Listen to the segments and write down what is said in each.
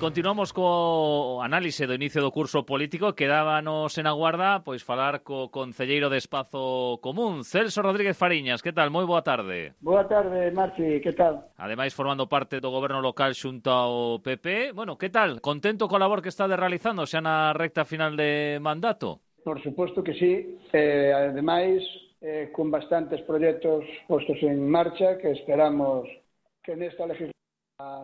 Continuamos co análise do inicio do curso político. Quedábanos en aguarda pois falar co concelleiro de Espazo Común, Celso Rodríguez Fariñas. Que tal? Moi boa tarde. Boa tarde, Marci, que tal? Ademais, formando parte do goberno local xunto ao PP. Bueno, que tal? Contento co labor que está realizando xa na recta final de mandato? Por suposto que sí. Ademais, con bastantes proxectos postos en marcha que esperamos que nesta legislatura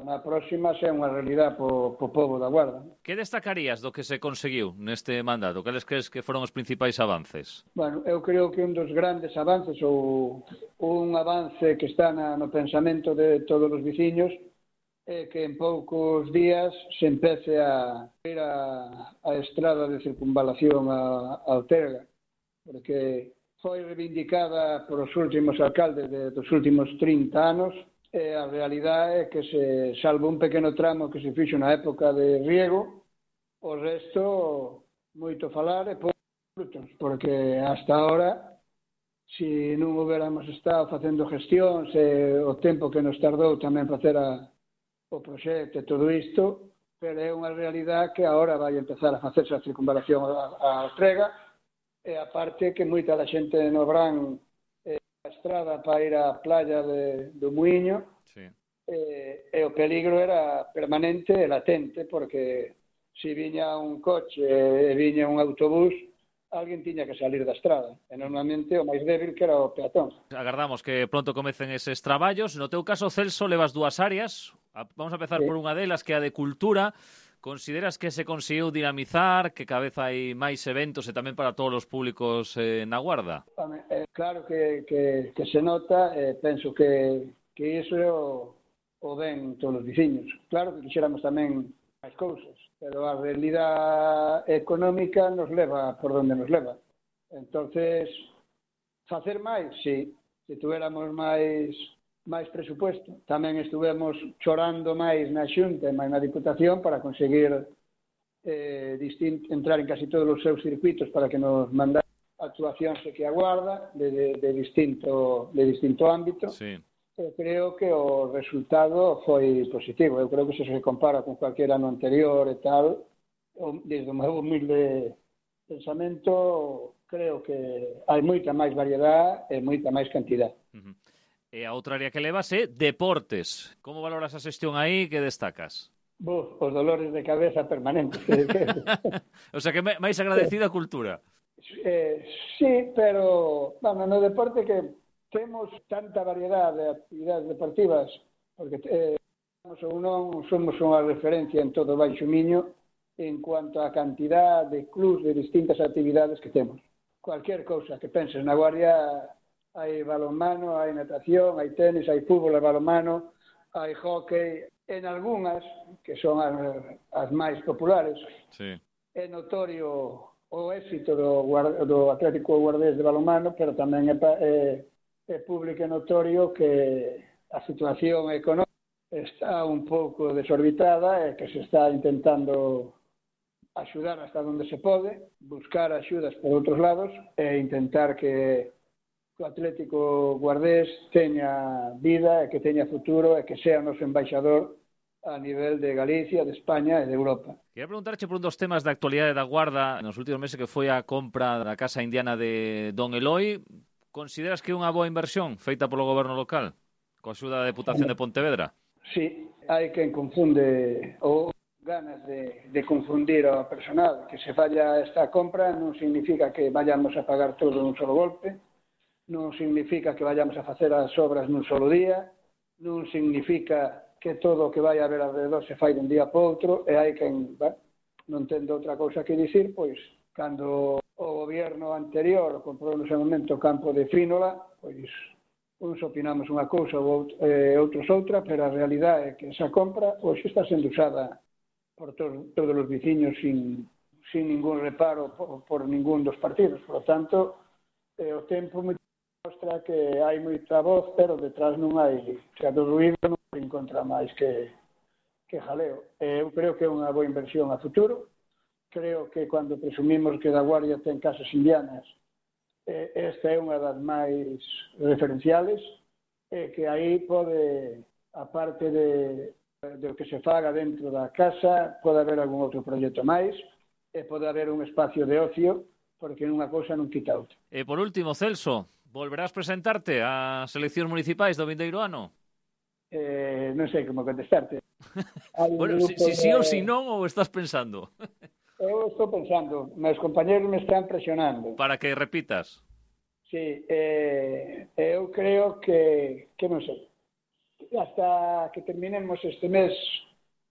na próxima sea unha realidade po pobo da Guarda. Que destacarías do que se conseguiu neste mandato? Cales crees que foron os principais avances? Bueno, eu creo que un dos grandes avances ou un avance que está no pensamento de todos os veciños é que en poucos días se empece a ir a estrada de circunvalación a Ortega, porque foi reivindicada por os últimos alcaldes dos últimos 30 anos. A realidade é que se salvo un pequeno tramo que se fixo na época de riego, o resto moito falar e poucos frutos, porque hasta ahora, se non huberamos estado facendo gestións o tempo que nos tardou tamén facer o proxecto e todo isto, pero é unha realidade que agora vai empezar a facerse a circunvalación a Ortega, e aparte que moita da xente no Brán a estrada para ir á playa do Muiño, sí. E o peligro era permanente e latente, porque se viña un coche e viña un autobús, alguén tiña que salir da estrada, e normalmente o máis débil que era o peatón. Agardamos que pronto comecen eses traballos. No teu caso, Celso, levas dúas áreas. Vamos a empezar por unha delas, que é a de cultura. Consideras que se conseguiu dinamizar, que cada vez hai máis eventos e tamén para todos os públicos na Guarda? Claro que se nota, penso que iso é o ben todos os veciños. Claro que quixéramos tamén máis cousas, pero a realidade económica nos leva por donde nos leva. Entonces, facer máis, sí, se tuéramos máis presupuesto. Tamén estuvemos chorando máis na Xunta e máis na Diputación para conseguir entrar en casi todos os seus circuitos para que nos mandaran actuacións que aguarda de distinto ámbito. Sí. Eu creo que o resultado foi positivo. Eu creo que se compara con cualquier ano anterior e tal, desde o meu humilde pensamento, creo que hai moita máis variedade e moita máis cantidad. E a outra área que levas é deportes. Como valoras a xestión aí? Que destacas? Os dolores de cabeza permanentes. O sea, que máis agradecida a cultura. Sí, pero no deporte que temos tanta variedade de actividades deportivas, porque somos unha referencia en todo o Baixo Miño en cuanto a cantidad de clubs de distintas actividades que temos. Cualquier cousa que penses na Guardia, hai balonmano, hai natación, hai tenis, hai fútbol, hai balonmano, hai hóquei. En algunhas, que son as máis populares, sí. É notorio o éxito do Atlético Guardés de balonmano, pero tamén é público e notorio que a situación económica está un pouco desorbitada e que se está intentando axudar hasta onde se pode, buscar axudas por outros lados e intentar que o Atlético Guardés teña vida e que teña futuro e que sea o noso embaixador a nivel de Galicia, de España e de Europa. Queria preguntarche por un dos temas da actualidade da Guarda nos últimos meses, que foi a compra da Casa Indiana de Don Eloi. Consideras que é unha boa inversión feita polo goberno local, coa axuda da Deputación de Pontevedra? Sí, hai quen confunde ou ganas de confundir ao personal. Que se falla esta compra non significa que vayamos a pagar todo nun solo golpe, non significa que vayamos a facer as obras nun solo día, non significa que todo o que vai haber alrededor se fai dun día para outro, e hai quen non tendo outra cousa que dicir, pois, cando o goberno anterior comprou no seu momento o campo de Frínola, pois, uns opinamos unha cousa e outros outra, pero a realidade é que esa compra hoxe está sendo usada por todos os veciños sin ningún reparo por ningún dos partidos. Por lo tanto, o tempo mostra que hai moita voz, pero detrás non hai, do ruído non se encontra máis que jaleo. Eu creo que é unha boa inversión a futuro. Creo que cando presumimos que da Guardia ten casas indianas, esta é unha das máis referenciales, que aí pode, aparte de do que se faga dentro da casa, pode haber algún outro proxecto máis, e pode haber un espacio de ocio, porque unha cousa non quita outra. E por último, Celso, volverás presentarte ás eleccións municipais do vindeiro ano? Non sei como contestarte. Bueno, si sí ou si non, ou estás pensando? Eu estou pensando, meus compañeros me están presionando. Para que repitas? Sí, eu creo que non sei, hasta que terminemos este mes,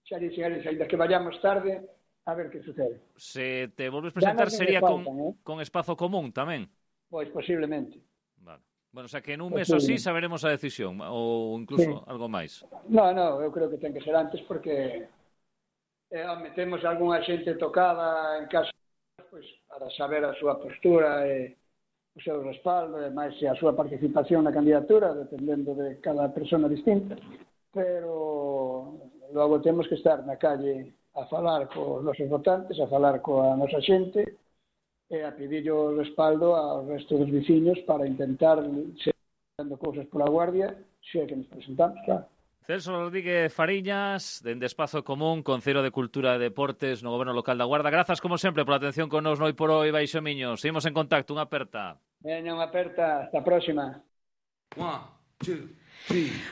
xa dixen eles, ainda que vayamos tarde, a ver que sucede. Se te volves presentar sería con espazo común tamén? Pois posiblemente. Vale. Bueno, o sea que en un mes así saberemos a decisión, ou incluso algo máis. No, eu creo que ten que ser antes, porque temos algunha xente tocada en casa, pois, para saber a súa postura e o seu respaldo, e máis a súa participación na candidatura, dependendo de cada persona distinta, pero logo temos que estar na calle a falar cos nosos votantes, a falar coa nosa xente e a pedir o respaldo ao resto dos veciños para intentar seguir dando cousas pola Guardia, se é que nos presentamos, claro. Celso Rodríguez Fariñas, dende Espazo Común, Concello de Cultura e Deportes no Goberno Local da Guarda. Grazas, como sempre, pola atención con nos no por hoy, Baixo Miño. Seguimos en contacto, unha aperta. Veña, unha aperta, hasta a próxima. 1, 2, 3